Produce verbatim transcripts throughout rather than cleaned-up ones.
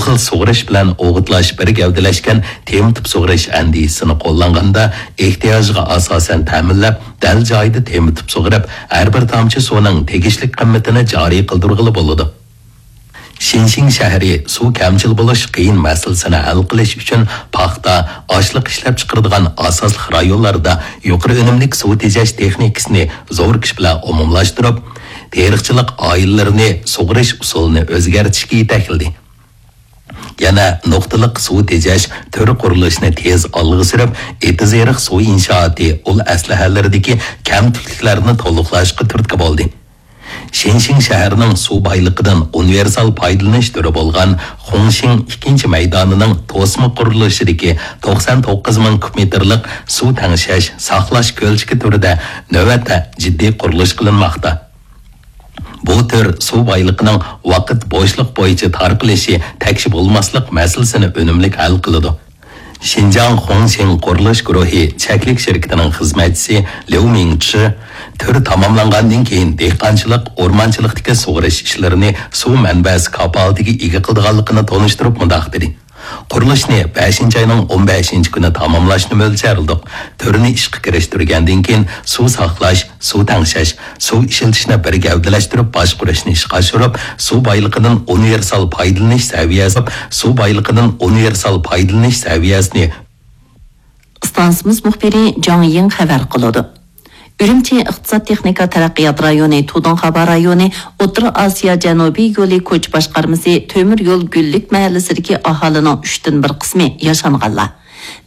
خىل سۇغىرىش بىلەن ئوغۇتلاش بىر گەۋدىلەشكەن تېمىتىپ سۇغىرىش ئەندىزىسىنى قوللانغاندا، ئېھتىياجىغا ئاساسەن تەمىنلەپ، دەل جايىدا تېمىتىپ سۇغىرىپ، ھەر بىر تامچە سۇنىڭ تېگىشلىك قىممىتىنى جارى قىلدۇرغىلى بولىدۇ. شىنشىڭ شەھىرى سۇ كەمچىل بولۇش قىيىن مەسىلىسىنى ھەل قىلىش ئۈچۈن پاختا، ئاشلىق ئىشلەپچىقىرىدىغان ئاساسلىق رايونلاردا يۇقىرى ئۈنۈملۈك سۇ تېجەش تېخنىكىسىنى زور كۈچ بىلەن ئومۇملاشتۇرۇپ، تېرىقچىلىق ئائىلىلىرىنى سۇغىرىش ئۇسۇلىنى ئۆزگەرتىشكە يېتەكلىدى. يەنە نۇقتىلىق سۇ تېجەش تۈر قۇرۇلۇشىنى تېز ئالغا سۈرۈپ، ئېتىز-ئېرىق سۇ ئىنشائاتى ئۇل ئەسلىھەلىرىدىكى كەمتۈكلۈكلەرنى تولۇقلاشقا تۈرتكە بولدى. شىنشىڭ شەھىرىنىڭ سۇ بايلىقىدىن ئۇنىۋېرسال پايدىلىنىش تۈرى بولغان خۇڭشىڭ ئىككىنچى مەيدانىنىڭ توسما قۇرۇلۇشىدىكى توقسان توققۇز مىڭ كۇب مېتىرلىق سۇ تەڭشەش، ساقلاش كۆلچىكى تۈرىدە نۆۋەتتە جىددىي قۇرۇلۇش قىلىنماقتا. بۇ تۈر سۇ بايلىقىنىڭ ۋاقىت بوشلۇق بويىچە تارقىلىشى تەكشى بولماسلىق مەسىلىسىنى ئۈنۈملۈك ھەل قىلىدۇ. شىنجاڭ خۇڭشىڭ قۇرۇلۇش گۇرۇھى چەكلىك شىركىتىنىڭ خىزمەتچىسى ليۇ مىڭچى تۈر تاماملانغاندىن كېيىن دېھقانچىلىق، ئورمانچىلىقتىكى سۇغىرىش ئىشلىرىنى سۇ مەنبەسى كاپالىتىگە ئىگە قىلىدىغانلىقىنى تونۇشتۇرۇپ مۇنداق دېدى: قۇرۇلۇشنى بەشىنچى ئاينىڭ ئون بەشىنچى كۈنى تاماملاشنى مۆلچەرلىدۇق. تۈرنى ئىشقا كىرىشتۈرگەندىن كېيىن سۇ ساقلاش، سۇ تەڭشەش، سۇ ئىشلىتىشنى بىر گەۋدىلەشتۈرۈپ باشقۇرۇشنى ئىشقا ئاشۇرۇپ، سۇ بايلىقىدىن ئۇنىۋېرسال پايدىلىنىش سەۋىيەسى، سۇ بايلىقىدىن ئۇنىۋېرسال پايدىلىنىش سەۋىيەسىنى ئىستانسىمىز مۇخبىرى جاڭ يىڭ خەۋەر قىلىدۇ. ئۈرۈمچى ئىقتىساد تېخنىكا تەرەققىيات رايونى تۇدۇڭخابا رايونى ئوتتۇرا ئاسىيا جەنۇبىي يولى كوچا باشقارمىسى تۆمۈر يول گۈللۈك مەھەللىسىدىكى ئاھالىنىڭ ئۈچتىن بىر قىسمى ياشانغانلار.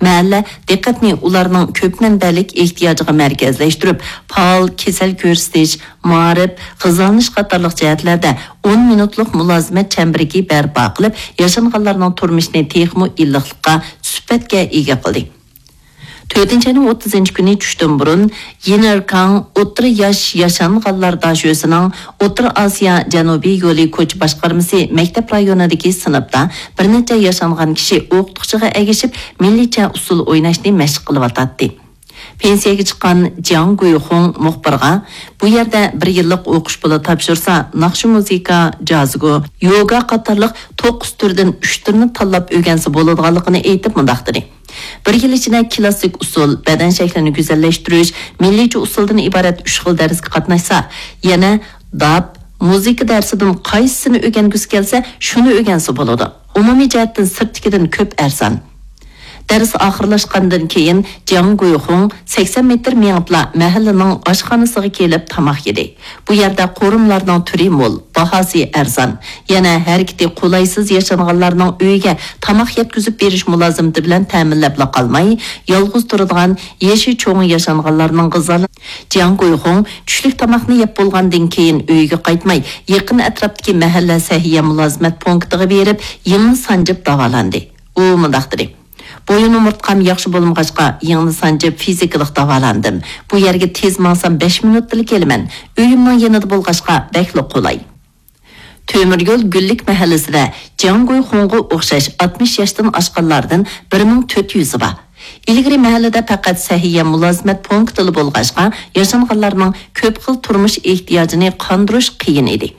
مەھەللە دىققەتنى ئۇلارنىڭ كۆپ مەنبەلىك ئېھتىياجىغا مەركەزلەشتۈرۈپ، پائال كېسەل كۆرسىتىش، مائارىپ، غىزالىنىش قاتارلىق جەھەتلەردە ئون مىنۇتلۇق مۇلازىمەت چەمبىرىكى بەرپا قىلىپ، ياشانغانلارنىڭ تۇرمۇشىنى تېخىمۇ ئىللىقلىققا، سۈپەتكە ئىگە قىلدى. تۆتىنچى ئاينىڭ ئوتتۇزىنچى كۈنى چۈشتىن بۇرۇن، يىنېركاڭ ئوتتۇرا ياش ياشانغانلار داشۆسىنىڭ ئوتتۇرا ئاسىيا جەنۇبىي يولى كوچا باشقارمىسى مەكتەپ رايونىدىكى سىنىپتا بىر نەچچە ياشانغان كىشى ئوقۇتقۇچىغا ئەگىشىپ، مىللىيچە ئۇسسۇل ئويناشنى مەشىق قىلىۋاتاتتى. پېنسىيەگە چىققان جياڭ گۇيخۇڭ مۇخبىرغا، بۇ يەردە بىر يىللىق ئوقۇش پۇلى تاپشۇرسا، ناخشا، مۇزىكا، جازگو، يوگا قاتارلىق توققۇز تۈردىن ئۈچ تۈرنى تاللاپ ئۆگەنسە بولىدىغانلىقىنى ئېيتىپ مۇنداق دېدى: بىر يىل ئىچىدە كلاسسىك ئۇسسۇل، بەدەن شەكلىنى گۈزەللەشتۈرۈش، مىللىيچە ئۇسسۇلدىن ئىبارەت ئۈچ خىل دەرسكە قاتناشسا، يەنە داپ، مۇزىكا دەرسىدىن قايسىسىنى ئۆگەنگۈسى كەلسە، شۇنى ئۆگەنسە بولىدۇ. ئومۇمىي جەھەتتىن سىرتتىكىدىن كۆپ ئەرزان. دەرس ئاخىرلاشقاندىن كېيىن، جياڭ گۇيخۇڭ سەكسەن مېتىر مېڭىپلا مەھەللىنىڭ ئاشخانىسىغا كېلىپ تاماق يېدى. بۇ يەردە قورۇملارنىڭ تۈرى مول، باھاسى ئەرزان. يەنە ھەرىكىتى قولايسىز ياشانغانلارنىڭ ئۆيىگە تاماق يەتكۈزۈپ بېرىش مۇلازىمىتى بىلەن تەمىنلەپلا قالماي، يالغۇز تۇرىدىغان يېشى چوڭ ياشانغانلارنىڭ غىزالىنىش. جياڭ گۇيخۇڭ چۈشلۈك تاماقنى يەپ بولغاندىن كېيىن ئۆيىگە قايتماي، يېقىن ئەتراپتىكى مەھەللە سەھىيە مۇلازىمەت پونكىتىغا بېرىپ، يىڭنە سانجىپ داۋالاندى. ئۇ مۇنداق دېدى: بويۇن ئومۇرتقام ياخشى بولمىغاچقا، يىڭنە سانجىپ فىزىكىلىق داۋالاندىم. بۇ يەرگە تېز ماڭسام بەش مىنۇتتىلا كېلىمەن. ئۆيۈمنىڭ يېنىدا بولغاچقا بەكلا قولاي. تۆمۈر يول گۈللۈك مەھەللىسىدە جياڭ گۇيخۇڭغا ئوخشاش ئاتمىش ياشتىن ئاشقانلاردىن بىر مىڭ تۆت يۈزى بار. ئىلگىرى مەھەللىدە پەقەت سەھىيە مۇلازىمەت پونكىتىلا بولغاچقا، ياشانغانلارنىڭ كۆپ خىل تۇرمۇش ئېھتىياجىنى قاندۇرۇش قىيىن ئىدى.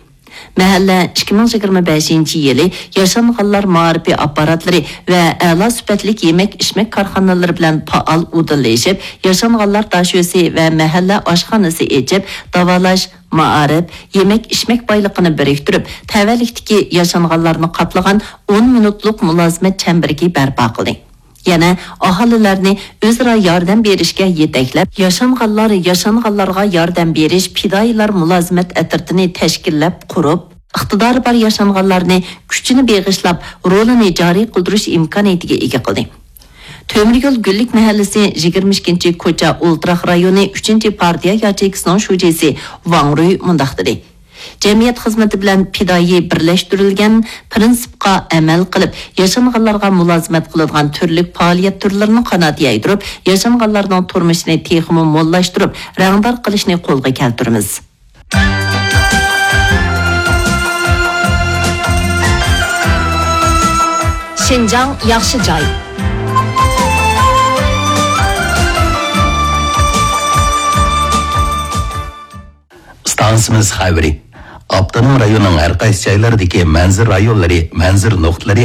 مەھەللە ئىككى مىڭ يىگىرمە بەشىنچى يىلى ياشانغانلار مائارىپى ئاپپاراتلىرى ۋە ئەلا سۈپەتلىك يېمەك-ئىچمەك كارخانىلىرى بىلەن پائال ئۇدۇللىشىپ، ياشانغانلار داشۆسى ۋە مەھەللە ئاشخانىسى ئېچىپ، داۋالاش، مائارىپ، يېمەك-ئىچمەك بايلىقىنى بىرىكتۈرۈپ، تەۋەلىكتىكى ياشانغانلارنى قاپلىغان ئون مىنۇتلۇق مۇلازىمەت چەمبىرىكى بەرپا قىلدى. يەنە ئاھالىلەرنى ئۆزئارا ياردەم بېرىشكە يېتەكلەپ، ياشانغانلار ياشانغانلارغا ياردەم بېرىش پىدائىيلار مۇلازىمەت ئەترىتىنى تەشكىللەپ قۇرۇپ، ئىقتىدارى بار ياشانغانلارنى كۈچىنى بېغىشلاپ، رولىنى جارى قىلدۇرۇش ئىمكانىيىتىگە ئىگە قىلدى. تۆمۈر يول گۈللۈك مەھەللىسى يىگىرمە ئىككىنچى كوچا ئولتۇراق رايونى ئۈچىنچى پارتىيە ياچېيكىسىنىڭ شۇجىسى ۋاڭ رۇي مۇنداق دېدى: جەمئىيەت خىزمىتى بىلەن پىدائىي بىرلەشتۈرۈلگەن پىرىنسىپقا ئەمەل قىلىپ، ياشانغانلارغا مۇلازىمەت قىلىدىغان تۈرلۈك پائالىيەت تۈرلىرىنى قانات يايدۇرۇپ، ياشانغانلارنىڭ تۇرمۇشىنى تېخىمۇ موللاشتۇرۇپ، رەڭدار قىلىشنى قولغا كەلتۈرىمىز. شىنجاڭ ياخشى جاي. ئىستانسىمىز خەۋىرى. ئاپتونوم رايوننىڭ ھەر قايسى جايلىرىدىكى مەنزىرە رايونلىرى، مەنزىرە نۇقتىلىرى